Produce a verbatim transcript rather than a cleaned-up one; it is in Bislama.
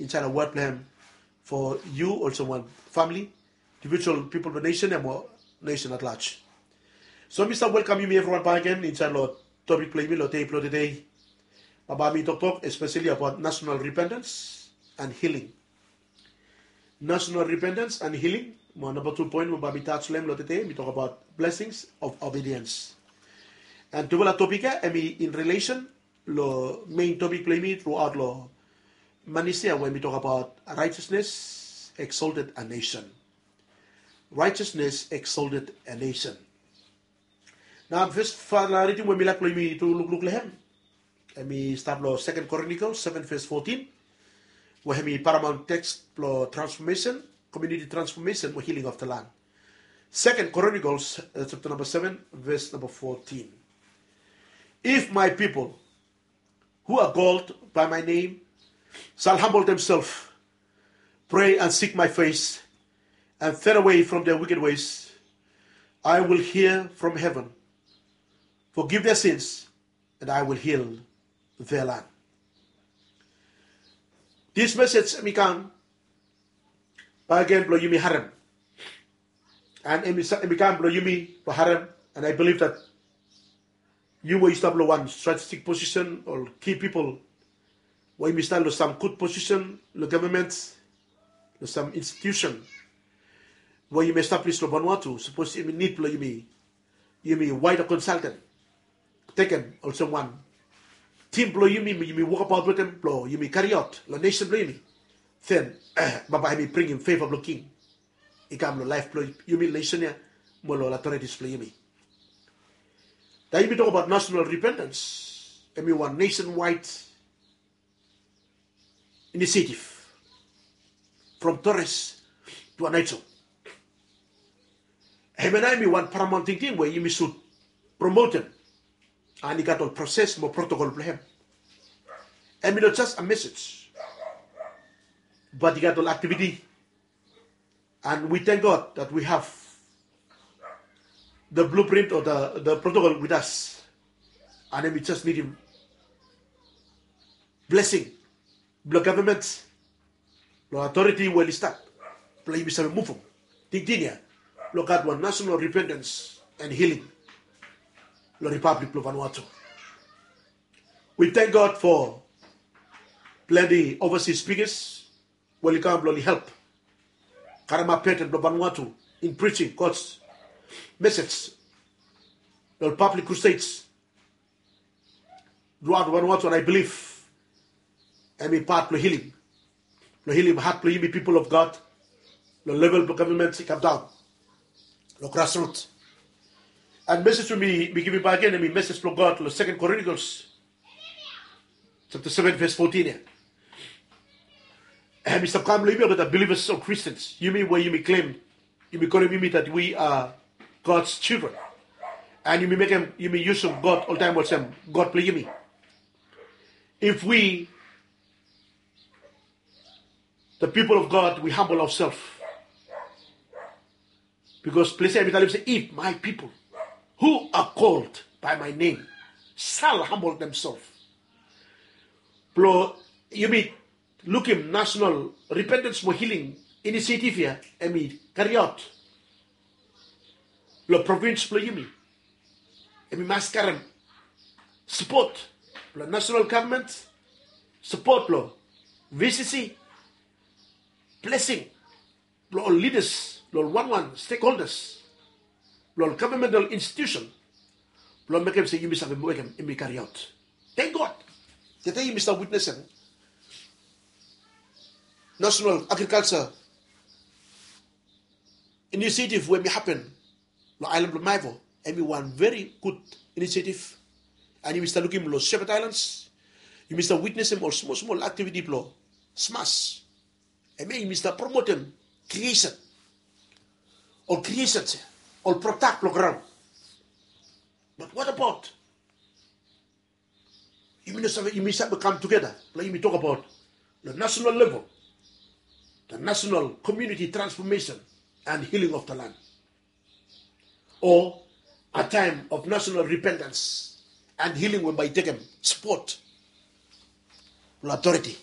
insaed long wod blong hem fo yu olsem wan famili, individual pipol blong nesen ya mo nesen at large. So mi stap welkam yumi evriwan bakegen insaed long topik blong yumi long dei blong tede. Bambae mi toktok espeseli abaot national repentance and healing. National repentance and healing. Mo namba tu poen we bambae mi taj long hem long tede, mi tokbaot blessings of obedience. And tufala topik ya hemi in relation long mein topik blong yumi truaot long manis ya we mi tokbaot righteousness exalted a nation. Righteousness exalted a nation. Nao fes fala ridim we mi laik blong yumi tu lukluk long hem, hemi stap long Second Chronicles seven verse fourteen, we hemi paramount teks blong transfomesen, community transfomesen mo healing of the land. Second Chronicles, uh, chapter number seven, verse number fourteen. If my people who are called by my name shall humble themselves, pray and seek my face, and turn away from their wicked ways, I will hear from heaven, forgive their sins, and I will heal their land. This message hemi kam bakegen blong yumi harem. And hemi kam blong yumi blong harem. And I believe that yu we yu stap long wan strategic position o ki pipol we yumi stap long sam gud position long gavman, long sam institusen we yumi establish long Vanuatu, sapos yumi nid blong yumi, yumi waeda konsalten tekem olsem wan tim blong yumi, yumi wokbaot wetem blong yumi kariaot long nesen blong yumi, then bambae hemi bringim feva blong king i kam long laef blong yumi nesen ya mo long otoritis blong yumi. Taem yumi tokbaot national repentance, hemi wan nationwide initiative from Torres to Aneityum. Hemia nao hemi wan paramount tingting we yumi sud promotem. And i gat ol proses mo protokol blong hem. Hemi no jes a mesej, bat i gat ol aktiviti. And we thank God that we have the blueprint or the, the protocol with us. And hemi jes nidim blesing blong gavman, long otoriti we oli stap blong yumi save muvum tingting ya blong gat wan national repentance and healing long Republic blong Vanuatu. We thank God for plante overseas speakers we oli kam blong oli help karemap beten blong Vanuatu in preaching God's message long public crusades throughout Vanuatu, and I believe hemi pat blong healing, blong healim hat blong yumi pipol of God long level blong gavman i kam daon long grassroot. And mesej we mi, mi givim bakegen hemi mesej blong God long Second Chronicles chapter seven verse fourteen ya. Hemi stap kam long yumi olgeta believers o Christians, yumi we yumi claim, yumi kolem yumi that we are God's children. And yumi mekem, yumi yusum God oltaem olsem God blong yumi. If we, the people of God, we humble ourselves, because ples ya hemi talem se, if my people who are called by my name shall humble themselves. Blong yumi lukim national repentance mo healing initiative ya hemi kariaot long provins blong yumi. Hemi mas karem sapot blong national gavman, sapot blong V C C, blesing blong ol lidas, long ol wanwan stakeholders blong ol gavman, ol institusen, blong mekem se yumi save mekem hemi kariaot. Thank God. Tede yumi stap witnesem national agrikalja inisiativ we hemi hapen long aelan blong Maevaw. Hemi wan veri gud inisiativ. And yumi stap lukim long Shepherd Islands, yumi stap witnesem ol smol smol aktiviti blong SMAS. Hemia yumi stap promotem kriesen, ol kriesens ya, ol prodak blong graon. But what about yumi no save, yumi save kam tugeta blong yumi tokbaot long national level, the national community transformation and healing of the land, o a time of national repentance and healing we bae i tekem sapot blong otoriti